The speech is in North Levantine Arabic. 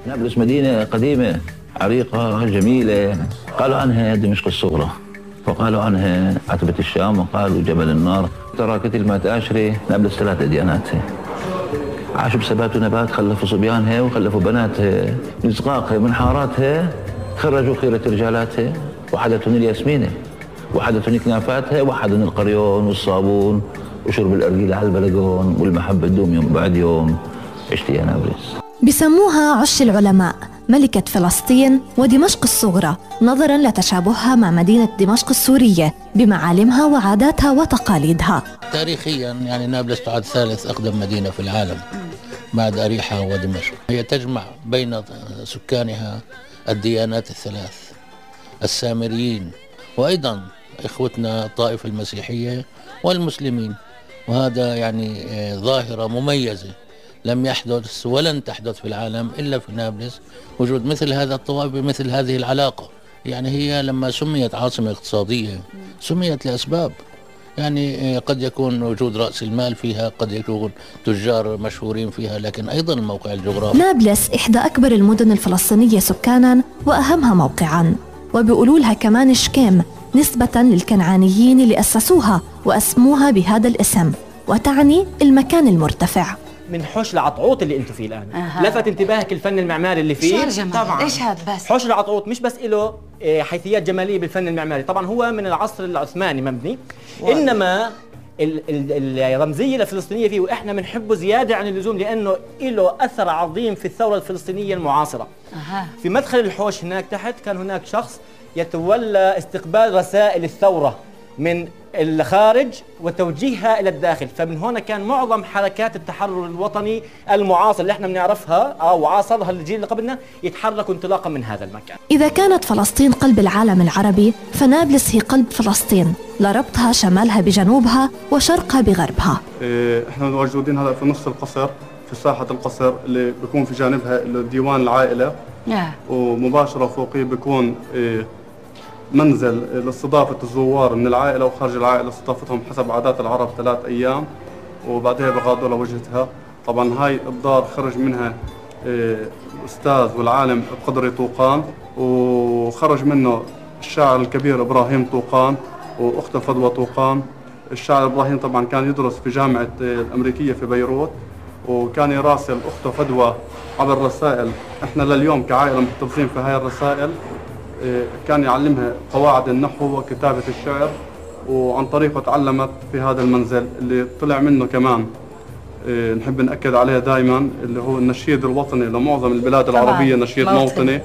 نابلس مدينة قديمة عريقة جميلة، قالوا عنها دمشق الصغرى، وقالوا عنها عتبة الشام، وقالوا جبل النار. ترى كتل ما تأشري نابلس 3 دياناتها، عاشوا بثبات ونبات، خلفوا صبيانها وخلفوا بناتها من صغاقها من حاراتها، خرجوا خيرة رجالاتها، وحدتهم الياسمينة، وحدتهم كنافاتها، وحدهم القريون والصابون وشرب الأرجيلة على البلقون، والمحبة تدوم يوم بعد يوم. عشت يا نابلس. بسموها عش العلماء، ملكة فلسطين ودمشق الصغرى، نظراً لتشابهها مع مدينة دمشق السورية بمعالمها وعاداتها وتقاليدها. تاريخياً يعني نابلس تعد 3 أقدم مدينة في العالم بعد أريحا ودمشق. هي تجمع بين سكانها الديانات ال3، السامريين وأيضاً إخوتنا الطائفة المسيحية والمسلمين، وهذا يعني ظاهرة مميزة لم يحدث ولن تحدث في العالم إلا في نابلس، وجود مثل هذا الطوائف بمثل هذه العلاقة. يعني هي لما سميت عاصمة اقتصادية سميت لأسباب، يعني قد يكون وجود رأس المال فيها، قد يكون تجار مشهورين فيها، لكن أيضا الموقع الجغرافي. نابلس إحدى أكبر المدن الفلسطينية سكاناً وأهمها موقعاً، وبيقولوا لها كمان شكيم نسبة للكنعانيين اللي أسسوها وأسموها بهذا الاسم، وتعني المكان المرتفع. من حوش العطعوط اللي انتم فيه الان لفت انتباهك الفن المعماري اللي فيه؟ طبعا. ايش هذا بس؟ حوش العطعوط مش بس له حيثيات جماليه بالفن المعماري، طبعا هو من العصر العثماني مبني، انما الرمزيه الفلسطينيه فيه واحنا بنحبه زياده عن اللزوم لانه له اثر عظيم في الثوره الفلسطينيه المعاصره. في مدخل الحوش هناك تحت كان هناك شخص يتولى استقبال رسائل الثوره من الخارج وتوجيهها الى الداخل، فمن هنا كان معظم حركات التحرر الوطني المعاصر اللي احنا بنعرفها او عاصرها الجيل اللي قبلنا يتحركوا انطلاقا من هذا المكان. اذا كانت فلسطين قلب العالم العربي، فنابلس هي قلب فلسطين، لربطها شمالها بجنوبها وشرقها بغربها. احنا موجودين هلا في نص القصر، في ساحه القصر اللي بيكون في جانبها ديوان العائله، ومباشره فوقيه بيكون منزل لاستضافة الزوار من العائلة وخارج العائلة، استضافتهم حسب عادات العرب 3 أيام وبعدها بغادوا لوجهتها. طبعا هاي الدار خرج منها الأستاذ والعالم القدري طوقان، وخرج منه الشاعر الكبير إبراهيم طوقان وأخته فدوى طوقان. الشاعر إبراهيم طبعا كان يدرس في جامعة الأمريكية في بيروت، وكان يراسل أخته فدوى عبر الرسائل. احنا لليوم كعائلة محتفظين في هاي الرسائل. كان يعلمها قواعد النحو وكتابة الشعر، وعن طريقه تعلمت في هذا المنزل اللي طلع منه كمان نحب نأكد عليه دائما اللي هو النشيد الوطني لمعظم البلاد العربية، نشيد موطني.